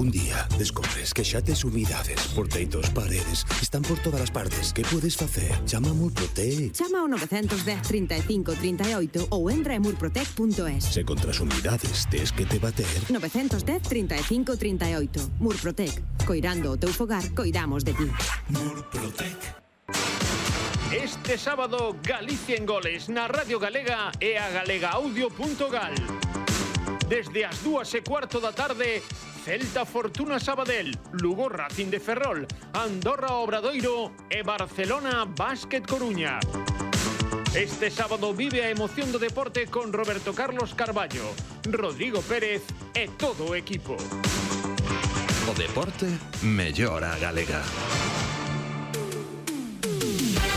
Un día descubres que xa tes humidades por teitos, paredes, están por todas as partes. Que podes facer? Chama a Murprotec. Chama ao 910 35 38 ou entra en murprotec.es. Se contra as humidades tes que te bater. 910 35 38. Murprotec. Coirando o teu fogar, coidamos de ti. Murprotec. Este sábado, Galicia en goles na Radio Galega e a galegaaudio.gal. Desde as 2:15 da tarde, Celta Fortuna Sabadell, Lugo Racing de Ferrol, Andorra Obradoiro e Barcelona Básquet Coruña. Este sábado vive a emoción do deporte con Roberto Carlos Carballo, Rodrigo Pérez e todo o equipo. O deporte mellora a galega.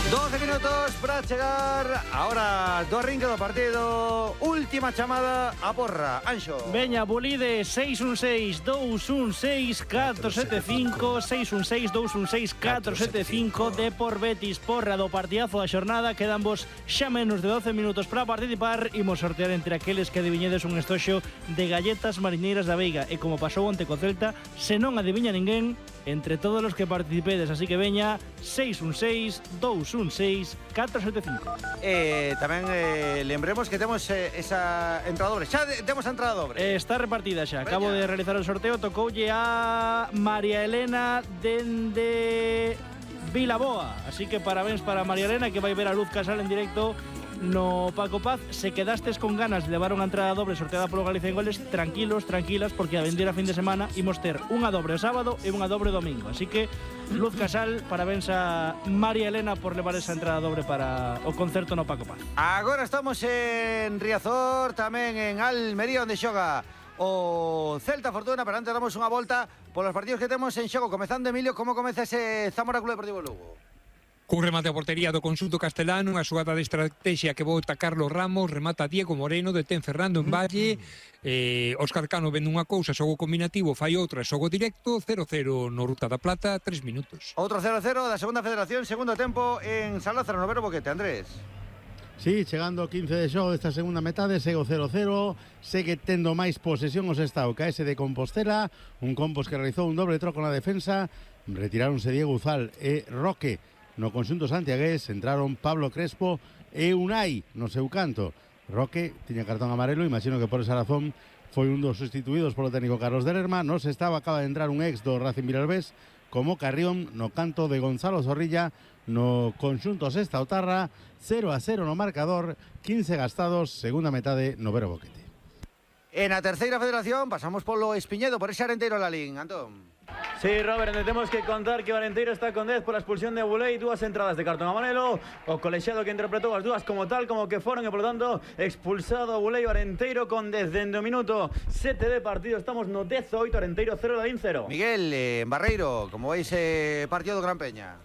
12 minutos para chegar ahora do arranque do partido. Última chamada a porra, Anxo. Veña, Bolide 616-216-475 616-216-475 de por Betis, porra do partidazo da xornada. Quedan vos xa menos de 12 minutos para participar. Imos sortear entre aqueles que adiviñedes un estoxo de galletas marineiras da Veiga. E como pasou onte co Celta, se non adiviña ninguén, entre todos os que participedes. Así que veña, 616-216-475. Tamén lembremos que temos esa entrada dobre. Xa temos a entrada dobre. Está repartida xa. Acabo de realizar o sorteo. Tocoulle a María Elena dende Vilaboa. Así que parabéns para María Elena, que vai ver a Luz Casal en directo no Paco Paz. Se quedastes con ganas de levar unha entrada doble sorteada polo Galicia en Goles, tranquilos, tranquilas, porque a vendera fin de semana imos ter unha dobre o sábado e unha dobre o domingo. Así que Luz Casal, parabéns a María Elena por levar esa entrada dobre para o concerto no Paco Paz. Agora estamos en Riazor, tamén en Almería, onde xoga o Celta Fortuna, pero antes damos unha volta polos partidos que temos en xogo. Comezando, Emilio, como comeza ese Zamora Club Deportivo Lugo? Cun remate a portería do conxunto castelano, unha xogada de estrategia que bota Carlos Ramos, remata Diego Moreno, detén Fernando en Valle, Óscar Cano vende unha cousa, xogo combinativo, fai outra, xogo directo, 0-0 no Ruta da Plata, 3 minutos. Outro 0-0 da segunda federación, segundo tempo en San Lázaro, no Vero Boquete, Andrés. Sí, chegando ao 15 de xogo desta segunda metade, segue o 0-0, segue tendo máis posesión os Estado, KS de Compostela, un Compos que realizou un doble troco na defensa, retiráronse Diego Uzal e Roque. No conxunto santiagués entraron Pablo Crespo e Unai no seu canto. Roque tiña cartón amarelo, imagino que por esa razón foi un dos sustituídos polo técnico Carlos de Lerma. Nos estaba, acaba de entrar un ex do Racing Vilalbés como Carrión no canto de Gonzalo Zorrilla. No conxunto Sesta Otarra, 0-0 no marcador, 15 gastados, segunda metade no Vero Boquete. En a terceira federación pasamos polo Espiñedo, por ese Arenteiro Lalín, Antón. Sí, Robert, temos que contar que o Arenteiro está con 10 pola expulsión de Bulei, dúas entradas de cartón amarelo, o colexiado que interpretou as dúas como tal, como que foron, e por tanto expulsado Bulei o Arenteiro con 10 dende o minuto 7 de partido. Estamos no 18, Arenteiro 0, Lalín 0. Miguel, en Barreiro, como veis partido do Gran Peña?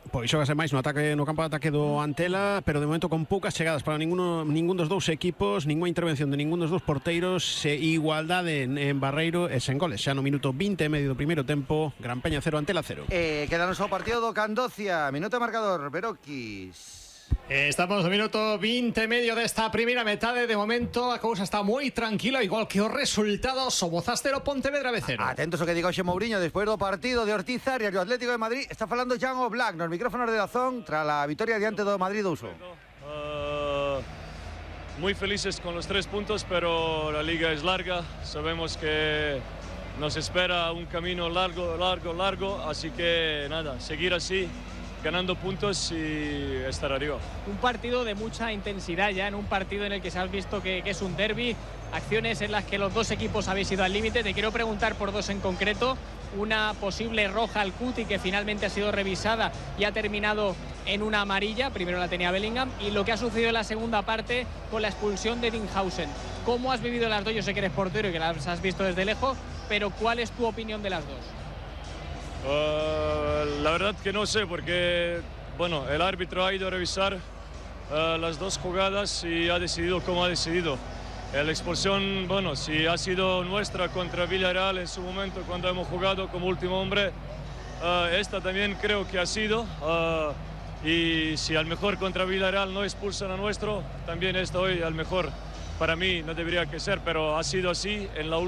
Pois xógase máis no campo de ataque do Antela, pero de momento con poucas chegadas para ningún dos dous equipos, ninguna intervención de ningún dos dous porteiros, igualdade en Barreiro e sen goles. Xa no minuto 20 e medio do primeiro tempo, Gran Peña 0, Antela 0. Quedanos o partido do Candocia, minuto marcador, Beroquis. Estamos no minuto 20 e medio desta primeira metade. De momento a cousa está moi tranquila, igual que os resultados. O Bozastero Pontevedra B0. Atentos ao que diga Xe Mourinho despois do partido de Ortiz Arias e o Atlético de Madrid. Está falando Jan Oblak nos micrófonos de Dazón tras a vitoria diante do Madrid 2-1. Muy felices con los 3 puntos, pero la liga es larga. Sabemos que nos espera un camino largo, así que nada, seguir así, ganando puntos y estar arriba. Un partido de mucha intensidad ya, en un partido en el que se ha visto que es un derbi, acciones en las que los dos equipos habéis ido al límite. Te quiero preguntar por dos en concreto. Una posible roja al Cuti que finalmente ha sido revisada y ha terminado en una amarilla, primero la tenía Bellingham, y lo que ha sucedido en la segunda parte con la expulsión de Dinghausen. ¿Cómo has vivido las dos? Yo sé que eres portero y que las has visto desde lejos, pero ¿cuál es tu opinión de las dos? La verdad que no sé, porque bueno, el árbitro ha ido a revisar las dos jugadas y ha decidido como ha decidido. La expulsión, bueno, si ha sido nuestra contra Villarreal en su momento cuando hemos jugado como último hombre, esta también creo que ha sido, y si al mejor contra Villarreal no expulsan a nuestro, también esta hoy al mejor para mí no debería que ser, pero ha sido así en la última.